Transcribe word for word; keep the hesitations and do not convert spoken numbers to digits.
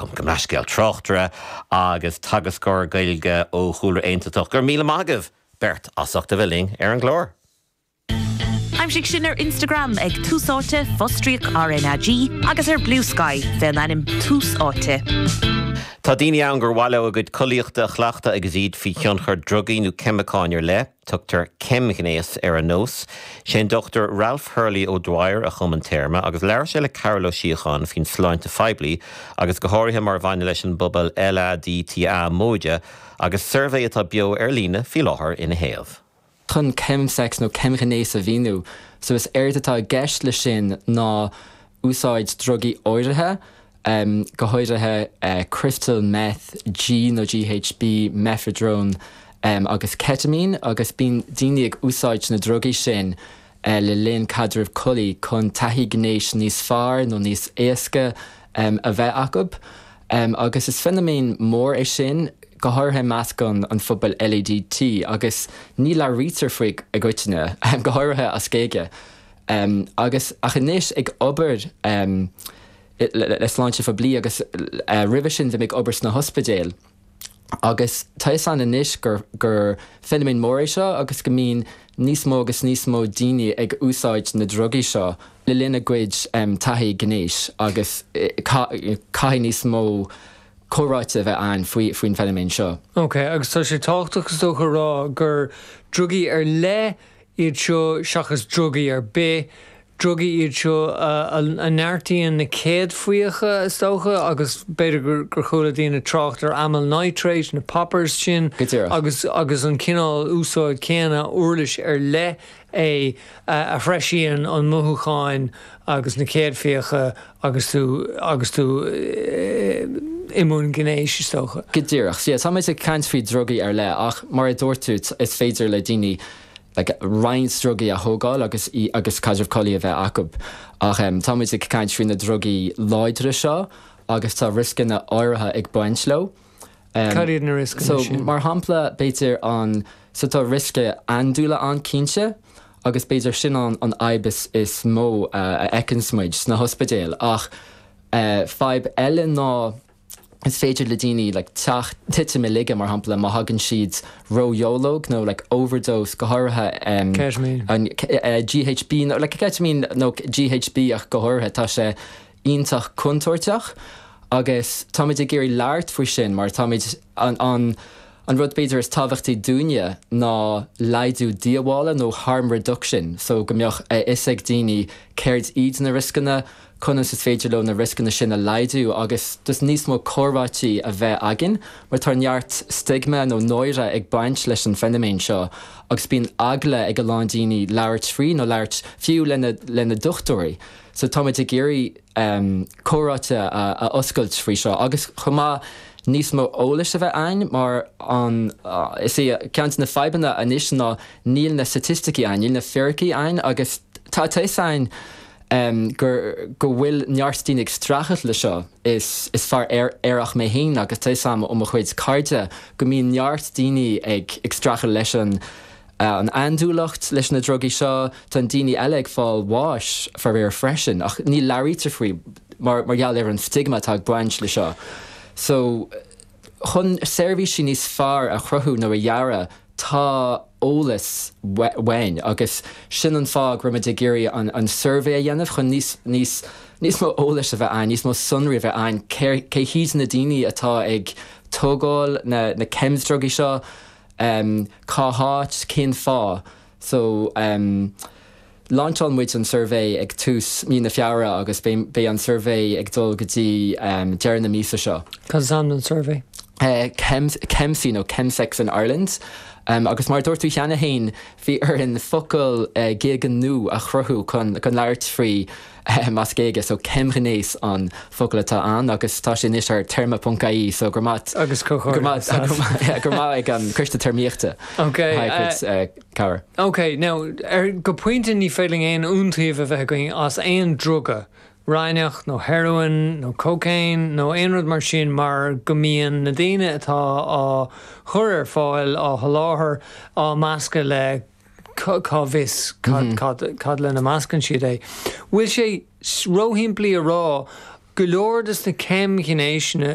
Gabh mo leithscéal, tráchtaire agus teagascóir Gaeilge ó chúlra aontachtach. Go raibh míle maith agaibh beirt as ucht a bheith linn ar an gclár. Aimsigh sinn ar Instagram ag Tús Áite fostríoc R N A G agus ar Bluesky fén ainm Tús Áite. Tá daoine ann gur mhaith leo a gcuid collaíochta a chleachtadh agus iad faoi thionchar drugaí nó ceimiceáin ar leith, tugtar ceimghnéas ar an nós. Sé an Doctor Ralph Hurley O'Dwyer a chum an téarma agus labhair sé le Carol Ó Síocháin faoin sláinte phoiblí agus go háirithe mar bhaineann leis an bpobal L A D T A móide agus suirbhé atá beo ar líne faoi láthair ina thaobh. Chun chemsex nó ceimghnéas a mhíniú, so is éard atá i gceist le sin ná úsáid drugaí áirithe, um, go háirithe uh, crystal meth, G nó G H B, mephedrone um, agus ketamine, agus bíonn daoine ag úsáid na drugaí sin uh, le linn caidreamh collaí chun taithí gnéis níos fearr nó níos éasca um, a bheith acu. Um, agus is feiniméan mór é sin, go háirithe i measc an an phobal L A D T, agus ní labhraítear faoi i gcoitinne, go háirithe as Gaeilge. Um, agus ach anois ag obair um, le, le sláinte phoiblí agus uh, roimhe sin bhí ag obair sna hospidéil. Agus tá an anois gur, gur feiniméan mór é seo agus go mbíonn níos mó agus níos mó daoine ag úsáid na drugaí seo le linn a gcuid um, taithí gnéis agus eh, caithfidh níos mó comhráite a bheith ann faoi faoin feiniméan seo. Ok, agus tá sé tábhachtach, is dócha, a rá gur drugaí ar leith iad seo seachas drugaí ar bith, drugaí iad seo a neartaíonn na céadfaíocha, is dócha, agus b'fhéidir gur gur chuala daoine trácht ar amyl nitrate, na poppers sin agus agus an cineál úsáid céanna uirlis ar leith é a threisíonn an mothúcháin agus na céadfaíocha agus tú agus tú i mbun gnéis, is dócha. Go díreach, yeah, tá ag caint faoi drugaí ar leith, ach mar a dúirt tú, is féidir le daoine like, roinnt drugaí a thógáil agus í, agus caidreamh collaí a bheith acu. Ach um, tá ag caint faoi na drugaí láidre seo agus tá rioscanna áirithe ag baint leo. Um, Cad iad na rioscanna so, sin? Mar shampla, b'fhéidir an so tá riosca andúile an-cinnte agus b'fhéidir sin an an fhadhb is, is mó uh, a fheiceann muid sna hospidéil, ach uh, fadhb eile ná is féidir le daoine like, teacht titim i laige, mar shampla, má thagann siad ródháileog nó like, overdose, go háirithe um, Ketamine. an uh, G H B nó like, ketamine nó G H B ach go háirithe, tá sé iontach contúirteach agus táimid ag iarraidh labhairt faoi sin mar táimid an, an, an rud b'fhéidir is tábhachtaí dúinne ná laghdú díobhála nó harm reduction, so go mbeadh a fhios ag daoine céard iad na rioscanna, conas is féidir leo na rioscanna sin a laghdú, agus dus níos mó comhráití a bheith againn, mar tá neart stigma nó náire ag baint leis an feiniméan seo agus bíonn eagla ag a lán daoine labhairt faoi nó labhairt fiú lena lena dochtúirí. So táimid ag iarraidh um, comhráite a, a oscailt faoi seo agus chomh maith níos mó eolais a bheith ann, mar an uh, is é ceann de na fadhbanna anois ná níl na staitisticí ann, níl na fíricí ann, agus tá ann um, gur go bhfuil neart daoine ag streachailt le seo. is, is fear aer aerach mé féin agus tá am ó mo chuid cairde go mbíonn neart daoine ag ag streachailt leis an uh, an andúileacht, leis na drugaí seo. Tá daoine eile ag fáil bháis faraor freisin, ach ní labhraítear faoi mar mar gheall ar an stigma atá ag baint le seo. So chun seirbhísí níos fearr a chruthú nó a dhearadh, tá eolas uainn, agus sin an fáth go raibh muid ag iarraidh an, an suirbhé a dhéanamh chun níos níos níos mó eolais a bheith ann, níos mó sonraí a bheith ann, cé hiad na daoine atá ag tógáil na, na cheimdhrugaí seo, um, cá háit, cén fáth. So um, Lainseáil muid an suirbhé ag tús mí na Feabhra agus beidh an suirbhé ag dul go dtí um, deireadh na míosa seo. Cad is ainm an suirbhé? Uh, ChemSE nó Chemsex in Ireland. Um, agus mar dúirt tú cheana féin, bhí orainn focal uh, Gaeilge nua a chruthú chun chun labhairt faoi um, as Gaeilge, so ceimghnéas an focal atá ann agus tá sé anois ar téarma ponc I E, so go maith Agus go maith go maith ag an Coiste Téarmaíochta. Ok, uh, cabhair. Ok, now ar go pointe ní féidir aon iontaoibh a bheith againn as aon druga, raithneach nó heroin nó cocaine nó aon rud mar sin, mar go mbíonn na daoine atá á chur ar fáil, á sholáthar, á meascadh le cá bhfios cad, cad, cad lena meascann siad é. Bhfuil sé róshimplí a rá go Go leor des na ceimghnéiseanna